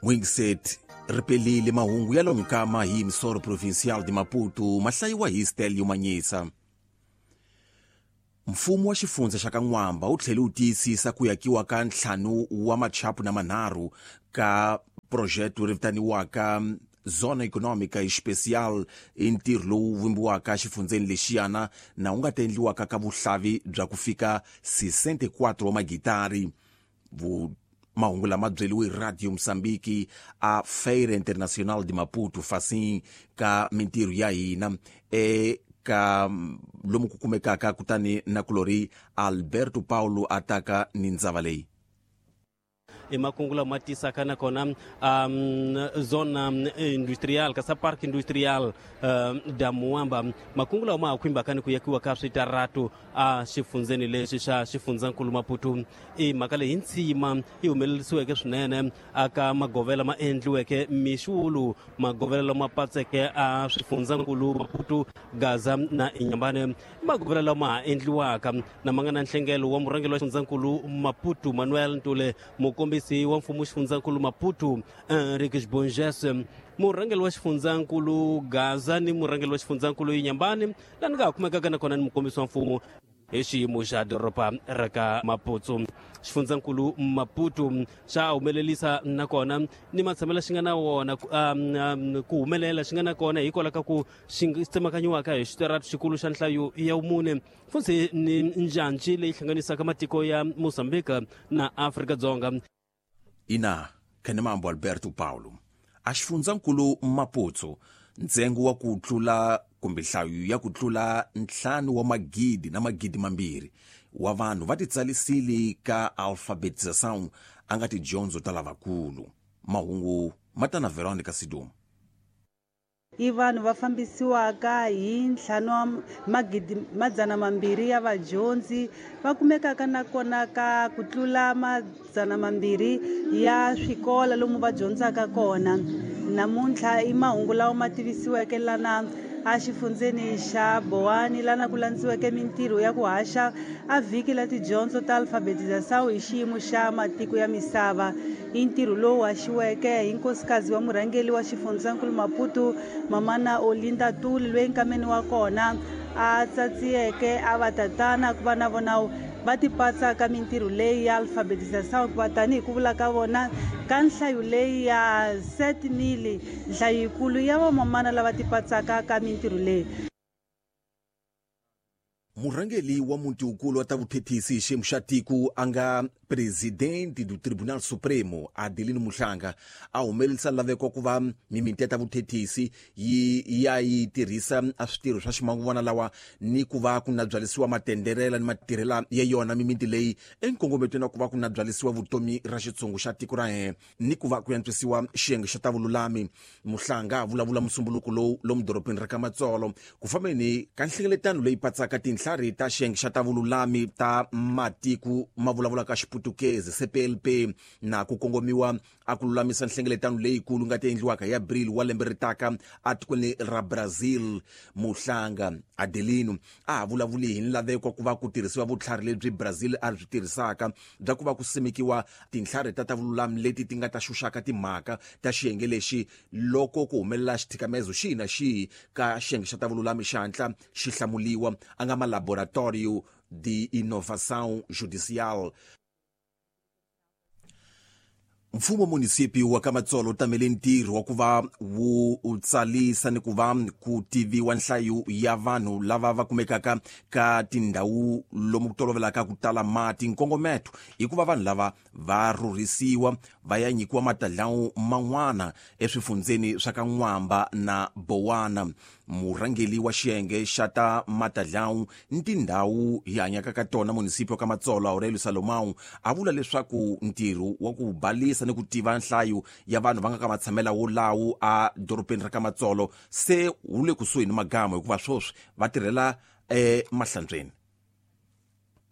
Wingset ri pelile mahungu ya lonkama hi Emissora Provincial de Maputo ma hlayiwa hi Stelio Manyisa. Mfumo wa xifundza xa ka N'wamba wu tlhele wu tiyisisa ku yakiwa ka ntlhanu wa machapu na manharhu ka projeto ri vitaniwaka Zona Econômica Especial, i ntirho lowu vumbiwaka xifundzeni lexiyana na wu nga ta endliwaka ka vuhlavi bya ku fika 64 wa magitari. Mahungu lama byeliwe hi Radio Mozambique a Feira Internacional de Maputo facing ka mintirho ya hina eka lomu ku kumekaka kutani na kulori Alberto Paulo ataka ni ndzava leyi. I makungu lama tisaka nakona zona industrial ka sa park industrial da Muamba, makungu lawa ma ha khumbaka ni ku yakiwa ka switaratu a xifundzeni lexi xa xifundzankulu Maputo. I mhaka leyi ntsima yi humelerisiweke swinene aka magovela ma endliweke mixulu, magovela lama patseke a swifundzankulu Maputo, Gaza na Inhambane, magovela lama ha endliwaka na ma nga na nhlengelo wa murhangeri wa xifundzankulu Maputo Manuel Ntule, mukombisi wa mfumo xifundzankulu Maputo Henriques Bonges, murhangeri wa xifundzankulu Gaza ni murhangeri wa xifundzankulu Inhambane, laha ni nga ha kumekaka nakona ni mukombisi wa mfumo hi xiyimo xa doroba ra ka Maputo. Xifundzankulu Maputo xa humelerisa nakona ni matshamelo xi nga na wona ku humelela xi nga na kona hikwalaho ka ku xi tsemakanyiwaka hi xitaratu xikulu xa nhlayo ya vumune, futhi ni njhanji leyi hlanganisaka matiko ya Mozambique na Afrika-Dzonga. Ina Khenemambo Alberto Paulo a xifundzankulu Maputo ntsengo wa ku tlula kumbe nhlayo ya ku tlula 5 wa magidi na magidi mambirhi wa vanhu va titsalisile ka alfabetização a nga tidyondzo ta lavakulu. Mahungu ma ta na Veronica Sidumo. I vanhu va fambisiwaka hi ntlhanu wa magidi madzana mambirhi ya vadyondzi va kumekaka nakona ka ku tlula madzana mambirhi ya swikolo lomu va dyondzaka kona. Namuntlha i mahungu lawa ma tivisiweke lana a xifundzeni xa Bowani, lana ku landziweke mintirho ya ku haxa a vhiki la tidyondzo ta alfabetização hi xiyimo xa matiko ya misava. I ntirho lowu haxiweke hi nkosikazi wa murhangeri wa xifundzankulu Maputo Mamana Olinda Tuli, loyi nkameni wa kona a tsatsiyeke a va tatana ku va na vona va tipatsa ka mintirho leyi ya alfabetização, hikuva tanihi ku vula ka vona ka nhlayo leyi ya 7000, nhlayo yikulu ya vamamana lava tipatsaka ka mintirho leyi. Murhangeri wa muti wukulu wa ta vuthethisi hi xiyimo xa tiko a nga presidente do Tribunal Supremo Adelino Muhlanga a humelerisa laveko ku va mimiti ya ta vuthethisi yi ya yi tirhisa a switirho swa ximanguvana lawa ni ku va ku na byalisiwa matenderela ni matirhela ya yona mimiti leyi enkongometweni wa ku va ku na byalisiwa vutomi ra xitshungu xa tiko ra hina ni ku va ku antswisiwa xiyenge xa ta vululami. Muhlanga a vulavula musumbuluko lowu lomu dorobeni ra ka Matsolo ku fambeni ka nhlengeletano leyi patsaka tinhlari ta xiyenge xa ta vululami ta matiko ma vulavulaka Xiputukezi CPLP na ku kongomiwa a ku lulamisa nhlengeletano leyikulu nga ta endliwaka hi Abril wa lembe ri taka atikweni ra Brazil. Muhlanga Adelino a ha vulavuli hi nlaveko ku va ku tirhisiwa vutlhari lebyi Brazil a byi tirhisaka bya ku va ku simekiwa tinhlari ta ta vululami leti ti nga ta xuxaka timhaka ta xiyenge lexi loko ku humelela xithikamezo xihi na xihi ka xiyenge xa ta vululami xi hatla xi hlamuliwa, a nga ma Laboratorio de Inovação Judicial. Mfumo munisipi wa ka Matsolo wu tamele ntirho wa ku va wu tsalisa ni ku va ku tiviwa nhlayo ya vanhu lava va kumekaka ka tindhawu lomu ku tolovelaka ku tala mati. Nkongometo i ku va vanhu lava va rhurhisiwa va ya nyikiwa matadlawu man'wana eswifundzeni swa ka N'wamba na Bowana. Murhangeri wa xiyenge xa ta matadlawu ni tindhawu hi hanyaka ka tona munisipi wa ka Matsolo Aurelio Salomão a vula leswaku ntirho wa ku balisa ni ku tiva nhlayo ya vanhu va nga ka matshamela wolawo a dorobeni ra ka Matsolo se wu le kusuhi ni magama, hikuva sweswi va tirhela emahlantsweni.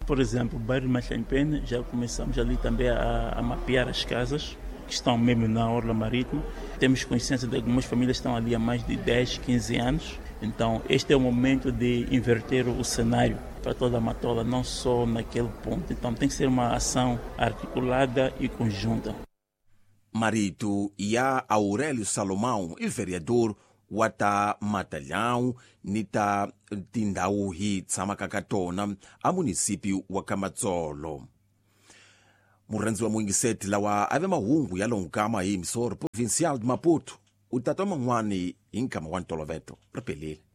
Por exemplo, o bairro de Mahlanpene, já começamos ali também a mapear as casas que estão mesmo na orla marítima. Temos consciência de algumas famílias que estão ali há mais de 10, 15 anos. Então, este é o momento de inverter o cenário para toda a Matola, não só naquele ponto. Então, tem que ser uma ação articulada e conjunta. Marito ya Aurélio Salomão i vereador wa ta Matalhão ni ta tindhawu hi tshamaka ka tona a munisipi wa ka Matsolo. Murhandzi wa muyingiseti lawa a ve mahungu ya lonkama hi emisoro provincial de Maputo u ta twa man'wani hi nkama wa ntoloveto ri pelile.